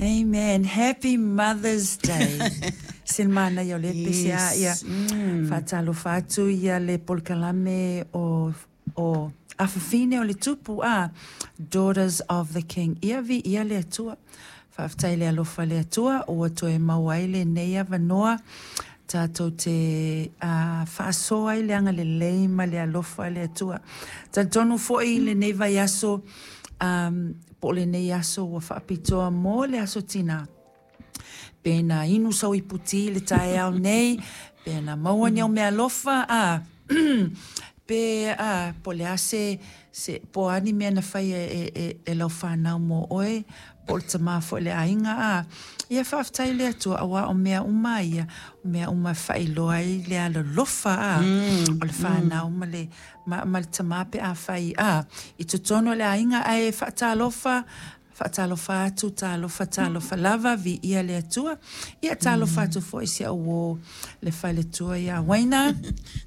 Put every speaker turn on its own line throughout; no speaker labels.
Amen. Happy Mother's Day. Se le manaia o lea pese a ia. Faatalofa atu ia le polokalame o Afafine o le Tupu a Daughters of the King. Ia viia le Atua. Faafetai le alofa le Atua ua toe maua ai lenei avanoa tatou te faasoa ai le agalelei ma le alofa le Atua. Talitonu foi lenei vaiaso po o lenei aso ua faapitoa mo le aso tinā. Pe na inu sau ipu ti i le taeao nei, pe na maua ni au meaalofa, a pe a po o le a se po o a ni mea na faia e lau fanau mo oe, po o le tamā foi o le aiga, a ia faafetai i le Atua auā o mea uma ia, o mea uma e faailoa ai le alolofa a o le fanau ma le ma le tamā pe afai a i totonu o le aiga ae faatalofa. Faatalofa atu, talofa, talofa lava, viia le Atua. Ia talofa atu foi si au uō le faletua ia Waina.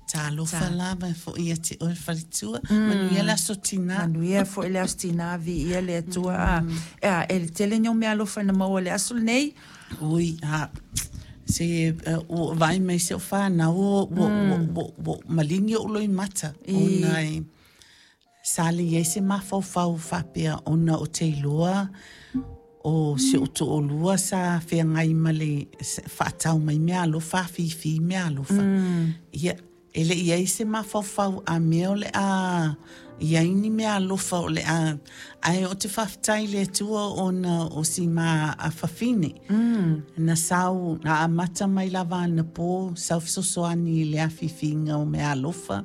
Talofa lava e foi ia te oe le faletua. Manuia le aso tinā.
Manuia foi le aso tinā, viia le Atua. A, e tele ni au meaalofa na maua i le aso lenei.
Ui, a, se ua vaai mai si au fanau ua maligi ou loimata ona e sa le i ai se mafaufau faapea ona ou te iloa o si ou toalua sa feagai ma le faatau mai meaalofa, afifi meaalofa. Ia, e le i i ai se mafaufau a mea o le a i ai ni meaalofa o le a. Ae ou te faafetai i le Atua ona o si ma afafine. Na sau, na amata mai lava anapo, sau fesoasoani i le afiafiga o meaalofa.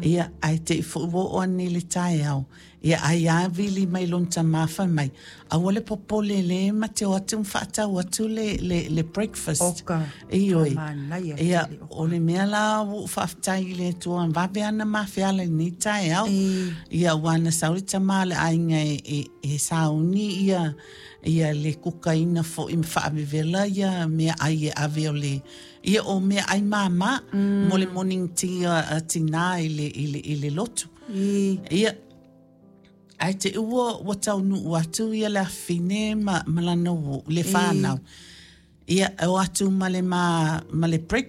Ia, ae te i foi ua oo ane i le taeao, ia ai lava vili mai lona tama fai mai, aua le popole lea ma te o atu ma faatau atu le breakfast.
Oka,
Ioe.
manaia
Ia,
tele, oka.
O le mea la ua ou faafetai i le Atua vave ana ma feala i lenei taeao. Ia, ua na sau le tama o le aiga e sauni ia le kukaina foi ma faavevela ia meaai e ave o le ia o meaai māmā mo le morning tea a tinā i le lotu. Ia, ae te ua taunuu atu ia le afafine ma lana uō, le whānau. Ia, e o atu ma le breakfast.